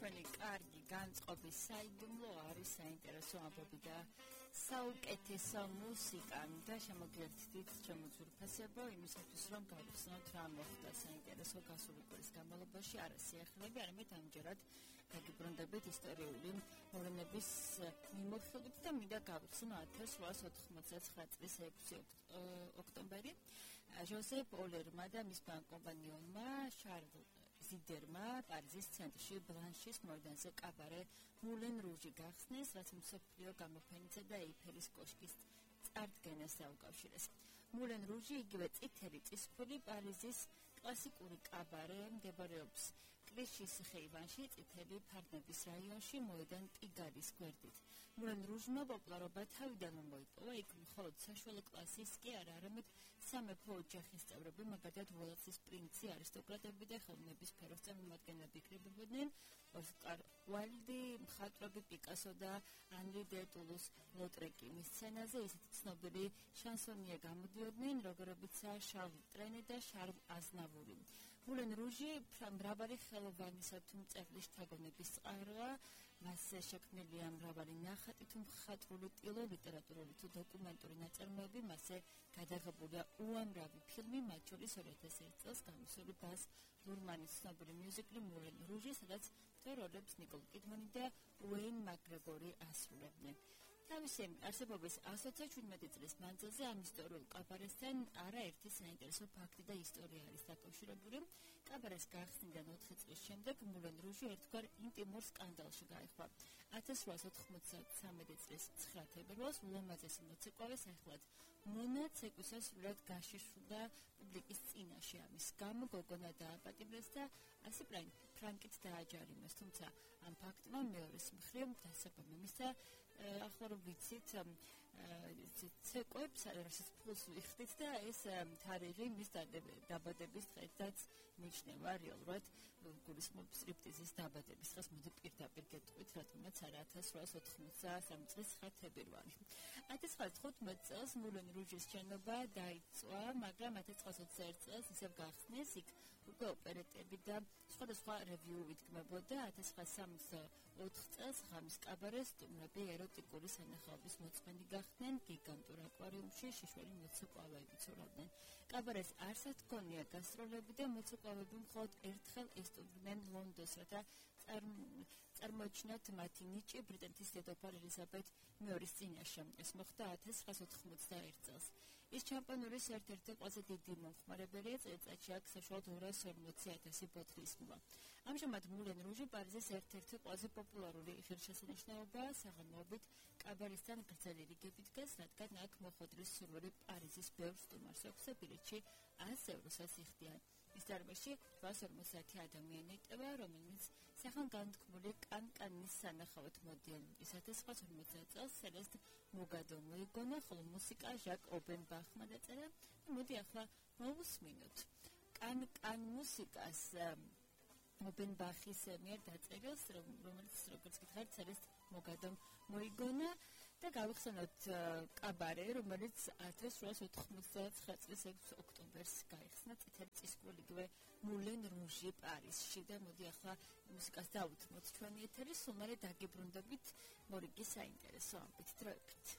ჩვენი კარგი განწყობის საიდუმლო არის საინტერესო ამბები და საუკეთესო მუსიკა და შემოგერთდით ჩემო ძვირფასებო იმისათვის რომ გავხსნათ რა მოხდა საინტერესო გასული კვირის განმავლობაში არა სიახლეები არამედ ამჯერად გაგიბრუნდებით ისტორიული მოვლენების მიმოხილვით და მინდა გავხსნო 1899 წლის 6 ოქტომბერი ჟოზეფ ოლერმა და მის კომპანიონმა შარლ ზიდერმა პარიზის ცენტრში ბლანშის მოედანზე კაბარე მულენ რუჟი გახსნეს, რაც მსოფლიო გამოფენისა და ეიფელის კოშკის წარდგენას დაუკავშირეს. მულენ რუჟი იგივე წითელი წისქვილი პარიზის კლასიკური კაბარე მდებარეობს კრიშის ხეივანში, წითელი ფარნების რაიონში, მოედან პიგალის გვერდით. მულენ რუჟმა პოპულარობა თავიდან მოიპოვა, იქ მხოლოდ საშუალო კლასის კი არა, არამედ სამეფო ოჯახის წევრები, მაგალითად ველასის პრინცი, არისტოკრატები და ხელოვნების სფეროს წარმომადგენლები იქნებოდნენ. ოსკარ უაილდი, მხატვრები პიკასო და ანრი დე ტულუს ლოტრეკი მის სცენაზე ისეთი ცნობილი შანსონიე გამოდიოდნენ, როგორებიცაა შარლ ტრენი და შარლ აზნავური. მულენ რუჟი მრავალი ხელოვანისა თუ მწერლის შთაგონების წყაროა, მასზე შექმნილია მრავალი ნახატი თუ მხატვრული ტილო, ლიტერატურული თუ დოკუმენტური ნაწარმოები, მასზე გადაღებულია უამრავი ფილმი, მათ შორის 2001 წელს გამოსული ბაზ ლურმანის ცნობილი მიუზიკლი მულენ რუჟი, სადაც როლებს ნიკოლ კიდმანი და უეინ მაკგრეგორი ასრულებდნენ. თავისი არსებობის 117 წლის მანძილზე ამ ისტორიულ კაბარესთან არაერთი საინტერესო ფაქტი და ისტორია არის დაკავშირებული. კაბარეს გახსნიდან 4 წლის შემდეგ მულენ რუჟი ერთგვარ ინტიმურ სკანდალში გაიხვა. 1893 წლის 9 თებერვალს ულამაზესი მოცეკვავე სახელად მონა ცეკვისას სრულად გაშიშვლდა პუბლიკის წინაშე. ამის გამო გოგონა დააპატიმრეს და ასე ფრანკით დააჯარიმეს, თუმცა ამ ფაქტმა მეორეს მხრივ დასაბამი მისცა. ახლა რომ ვიცით ცეკვებს რასაც ფულს ვიხდით და ეს თარიღი მის დაბადების დღედაც ნიშნება რეალურად გულისხმობ სტრიპტიზის დაბადების დღეს მოდი პირდაპირ გეტყვით რატომაც არა 1893 წლის 9 თებერვალი. 1915 წელს მულენ რუჟის შენობა დაიწვა, მაგრამ 1921 წელს ისევ გახსნეს, იქ უკვე ოპერეტები და სხვადასხვა რევიუ იდგმებოდა. 1934 წელს ღამის კაბარეს სტუმრები ეროტიკული სანახაობის მოწმენდი გახდნენ, გიგანტურ აკვარიუმში შიშველი მოცეკვავეები ცურავდნენ. კაბარეს არსად ჰქონია გასტროლები და მოცეკვავეები მხოლოდ ერთხელ ესტუმრნენ ლონდონს, რათა წარმოეჩინათ მათი ნიჭი ბრიტანეთის დედოფალ ელიზაბეთ მეორის წინაშე. ეს მოხდა 1991 წელს. ის ჩემპიონურის ერთ-ერთი ყველაზე დიდი მომხმარებელია, წელიწადში აქ საშუალოდ 240,000 ბოთლის ხმობა. ამჟამად მულენ რუჟი პარიზის ერთ-ერთი ყველაზე პოპულარული ღირსშესანიშნაობაა, საღამოობით კაბარესთან გრძელი რიგები დგას, რადგან აქ მოხვედრის სურვილი პარიზის ბევრ სტუმარს აქვს და ბილეთში 100 ევროსაც იხდიან. ის დარბაზში 850 ადამიანი იტევა, რომელნიც სახან განთქმული კანკანის სანახავად მოდიან. ის 1950 წელს სელესტ მოგადო მოიგონა, ხოლო მუსიკა ჟაკ ობენბახმა დაწერა. მოდი ახლა მოვუსმინოთ კან მუსიკას ობენბახის მიერ დაწერილს, რომელიც როგორც გითხარით სელესტ მოგადომ მოიგონა და გავიხსენოთ კაბარე, რომელიც 1899 წლის 6 ოქტომბერს გაიხსნა წითელი წისქვილიგივე მულენ რუჟი პარიზში და მოდი ახლა მუსიკას დავუთმოთ ჩვენი ეთერი, სულ მერე დაგიბრუნდებით მორიგი საინტერესო ამბით დროებით.